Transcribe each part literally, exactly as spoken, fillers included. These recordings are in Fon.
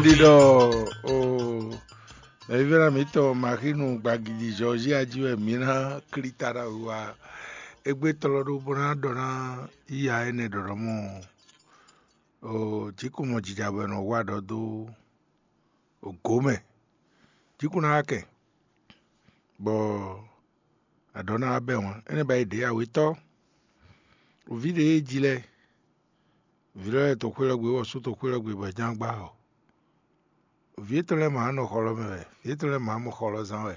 Ɖiɖɔ o, mɛvívɛ́ná mǐtɔn Maxinu gbagidi Zɔzia jí wɛ mǐ ná klí ta ɖo awu wá. Égbé tlɔ́ ɖó bó ná ɖɔ ná yíya énɛ́ ɖɔ̌ɖɔ́ mɔ o, jǐkúmɔjija bɔ è nɔ wa ɖɔ dó gǒ mɛ. Jǐkún ná wá kɛ, bɔ aɖɔ̌ ná wá bɛ́ wǎn. Énɛ́ ba yi ɖě awětɔ́, vǐ ɖě e ji lɛ́ɛ, vǐ lɛ́ɛ to xwé lɔ gbe, bɔ sú to xwé lɔ gbe, bɔ é ján gbá ɔ. Vǐ étɔn lɛ́ɛ ma nɔ xɔ lɔ mɛ wɛ, vǐ étɔn lɛ́ɛ ma mɔ xɔ lɔ zán wɛ.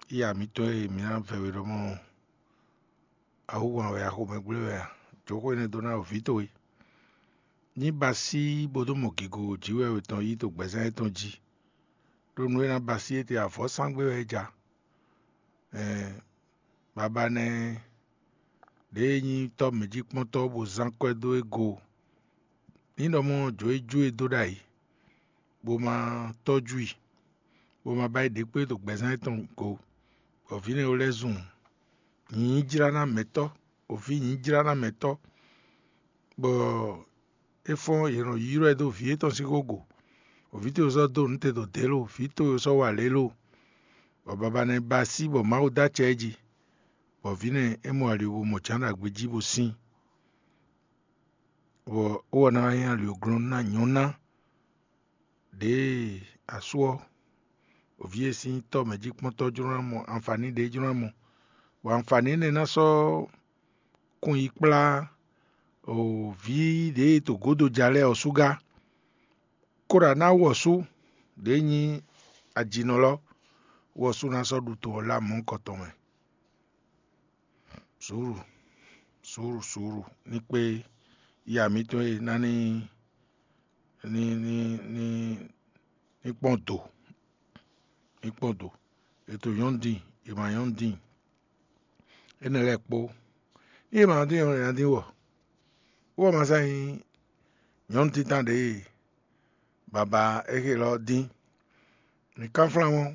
Iya mǐtɔn e mǐ ná vɛ we ɖɔmɔ, awu wan wɛ, axomɛ gblé wɛ a? Jǒxo énɛ́ dó ná vǐ towe. Ní ba sí bó dó mɔ gigo jǐ wɛ tɔn yí to gbɛzán étɔn jí, ɖó nǔ e ná ba sí étɛn avɔ́sángbe wɛ é ja. Ɛɛ, baba nɛ́ ɖěe nyí tɔ́ mɛ̌jíkpɔ́ntɔ́ bó zán kwɛ́ dó é go. Ní ɖɔ mɔ jǒ é jó e dó ɖ'ayǐ, bó ma tɔ́jú i, bó ma ba yi ɖě kpé ɖo gbɛzán étɔn go, bɔ vǐ nɛ́ lɛ́ɛ zun nyǐjlánámɛtɔ́, òfí nyǐjlánámɛtɔ́, bɔ é fɔ́n yě nɔ ylɔ́ ɛ dó vǐ étɔn sín xógo. Vǐ towe sɔ́ dó nǔ te ɖo dě lo, vǐ towe sɔ́ wa lě lo, bɔ baba nɛ́ ba sí bɔ Mawu dó acɛ ɛ jí, bɔ vǐ nɛ́ é mɔ ali bó mɔ jǎn ɖo agbe jí bó sín, bɔ é wɔ ná nyí ali glɔ́n ná nyɔ̌ná ɖěe asú ɔ́, vǐ e sín tɔ́ mɛ̌jíkpɔ́ntɔ́ jló ná mɔ anfaní ɖě jló ná mɔ, bɔ anfaní énɛ́ ná sɔ́ kun yi kplá vǐ ɖě e to gǒdo ja lɛ́ɛ ɔ́ sú gá. Kóɖa ná wɔ̌sú ɖě nyí ajinɔ lɔ, wɔ̌sú ná sɔ́ ɖu to ɔ́ lá mɔ̌hunkɔtɔn mɛ. Suúlu, suúlu, suúlu ní kpé ya mǐtɔn e ná ní ní ní ní ní kpɔ́n do, ní kpɔ́n do. È to nyɔ̌nu dín, è ma nyɔ̌nu dín, énɛ́ lɛ́ɛ kpó. Ní è ma dín ɔ́, è nǎ dín wɔ. Wɔ ma sá nyí nyɔ̌nu títán ɖě e baba é xe lɔ dín. Mǐ kánflán mɔ́,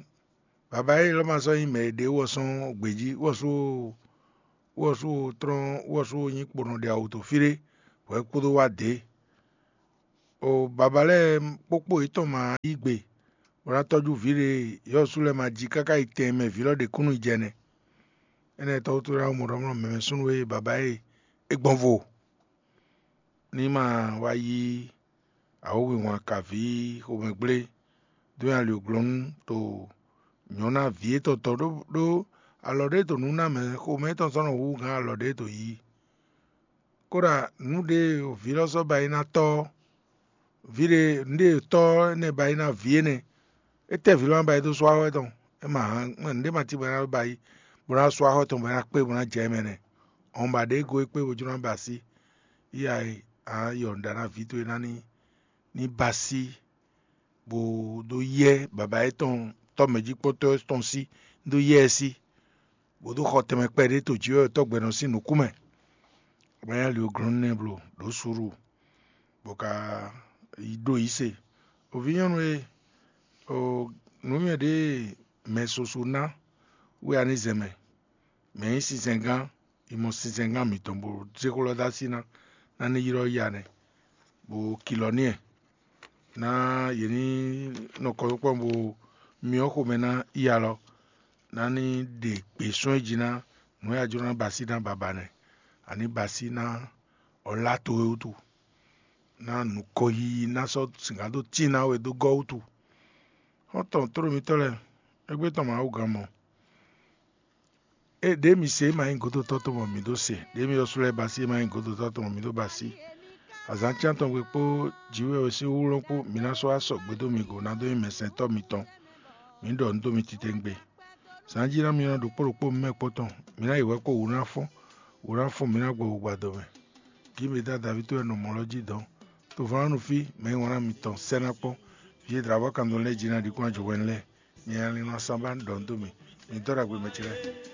baba élɔ́ ma sɔ́ nyí mɛ e ɖe wɔ sɔ́ gbějí, wɔ sú wɔ sú tlɔ́n, wɔ sú nyí kponɔ ɖe awu to fí ɖé, bɔ é kúdó wá dě. O baba lɛ́ɛ kpókpó yětɔn ma yí gbe, bó ná tɔ́jú vǐ ɖe yɔ́sú lɛ́ɛ ma jí káká yi tɛn e mɛ vǐ lɔ ɖe kúnnu jɛ nɛ́. Énɛ́ tɔ́wútu ná mɔ ɖɔ mlɔ́ mɛmɛ súnnu e baba e é gbɔn vo, ní ma wá yí awǒwinwǎn kaví xomɛgblé dó nyi ali glɔ́nú to nyɔ̌ná vǐ étɔn tɔn ɖó ɖó alɔ ɖé to nǔ ná mɛ xomɛ étɔn sɔ́ nɔ hú gán alɔ ɖé to yí. Kóɖa nǔ ɖé vǐ lɔ sɔ́ ba yi ná tɔ́ ɔ́, vǐ ɖé nǔ ɖé tɔ́ énɛ́ ba yi ná vǐ énɛ́, é tɛ́ vǐ lɔ ná ba yi dó sú axɔ́ tɔn, é ma hán nǔɖé ma cí bɔ é ná ba yi bó ná sú axɔ́ tɔn bɔ é ná kpé bó ná jɛ mɛ nɛ́. Ɔ́n ba ɖě go é kpé bó jló ná ba así. Iya e a yɔ nǔɖa ná vǐ towe ná ní ní ba así, bó dó yɛ baba étɔn tɔ́ mɛ̌jíkpɔ́tɔ́ tɔn sí, dó yɛ ɛ sí, bó dó xɔ tɛnmɛ kpɛɖé to jǐ wɛ tɔ́gbɛ́nɔ sín nǔkún mɛ. Bɔ é nya li glɔ́n nɛ́ blo ɖǒ suɖu, bɔ ka yi ɖó yǐ se. O vǐ nyɔ́nu e, o nǔnywɛ́ ɖě e mɛ soso ná wɛ a ní zɛ mɛ, mɛ nyí sinsɛngán, yi mɔ sinsɛngán mǐtɔn bó zé xó lɔ dó así ná, ná ní ylɔ́ ya nɛ́, bó kilɔ n'i ɛ, ná yě ní nɔ kɔ kpɔ́n bó myɔ xomɛ ná ya lɔ, ná ní ɖe gbě sɔ́ é jí ná nǔ e a jló ná ba así ná baba nɛ́, a ní ba así ná ɔ́ lá towe wútu, ná nǔkɔyiyi ná sɔ́ sǐngán dó tín ná we dó gɔ́ wútu. Xɔ́ntɔn tlóló mitɔ́ lɛ́ɛ, égbé tɔn Mawu gán mɔ. Ée ɖě mi se é ma nyí gǒdotɔ́ tɔn bɔ mǐ ɖó se, ɖě mi ɔ́ sú lɛ́ɛ ba sí é ma nyí gǒdotɔ́ tɔn bɔ mǐ ɖó ba sí. Azǎn cyán tɔn gbe kpó jǐwɛ́ ɔ́ sín wúlɔ́ kpó mi ná sɔ́ wá sɔgbe dó mi go ná dó nyí mɛsɛntɔ́ mitɔn. Mǐ ɖɔ nǔ dó mi titewungbe. Zǎn jí ná mi ná ɖokpó ɖokpó mi mɛ kpɔ́n tɔn, mi ná yi hwɛ kpó wǔ ná fɔ́n, wǔ ná fɔ́n mi ná gbɔ wǔgbadɔ mɛ. Gǐ mi dá Davíd wɛ nɔ mɔ lɔ jí dɔ̌n. Tovɔ́nánú fí, mɛ e wlán mitɔn sɛ́ ná kpɔ́n. Vǐ e dlǎvɔ́ kan dó lɛ́ɛ jí ná ɖi kún ajɔ̌ hwɛ̌nu lɛ́ɛ. Mi ná lin nɔ asán ba ɖɔ nǔ dó mì. Mi dɔ́ ɖagbe mɛ ce lɛ́ɛ.